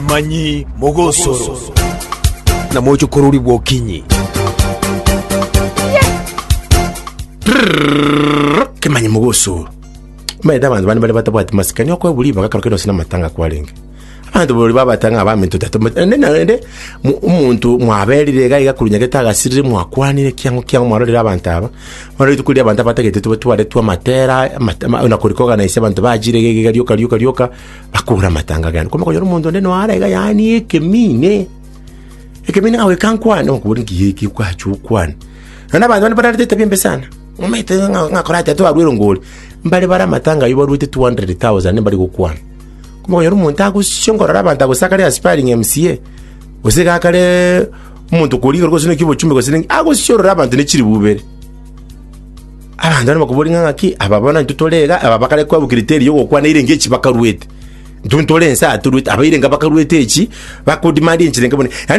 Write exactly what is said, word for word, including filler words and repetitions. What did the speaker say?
Kemanyi mogosoro na mochokorori bwokinyi. Kemanyi mogosoro. Omanyete abanto bande bare batabwati masikani okoebwa ribaga ekero kende gose na amatanga kwarenge. Abanto borori babata ng'a abaminto tata naende naende mo- omonto mwaberire iga iga korwa nyagete agasirire mwakwanire kiang'o kiang'o mwarorire abanto aba, bono rituko riria abanto abatagete twaretwe amatera, amate ama na korikoganise abanto bachire iga iga iga rioka rioka rioka, bakure amatanga agende. Kwamanya konyora omonto onde noare iga yaani ekemine, ekemine ng'a goika nkwane, okobori nki eki kwacha okwane. Naende abanto bande bararete etabia embe sana, omanyete ng'a ng'a korachake twarwa erongori, mbare bare amatanga aywo barwete two hundred thousand mbari gokwana. Okonyora omonto agosio nkorora abanto agosakare aspiring M C A, gose iga akare omonto koria igoro gose naki obochumbe gose ninki, agosiorora abanto ne chiribu ibere. Abanto bande bakoboria ng'a ng'aki, aba bono intwe tore iga, aba bakare kwabua criteria ya ogokwana erenge echi bakarwete. Intwe ntore ense aa torwete, aba erenge bakarwete echi, bakodemand enchera enke bono. Yaani.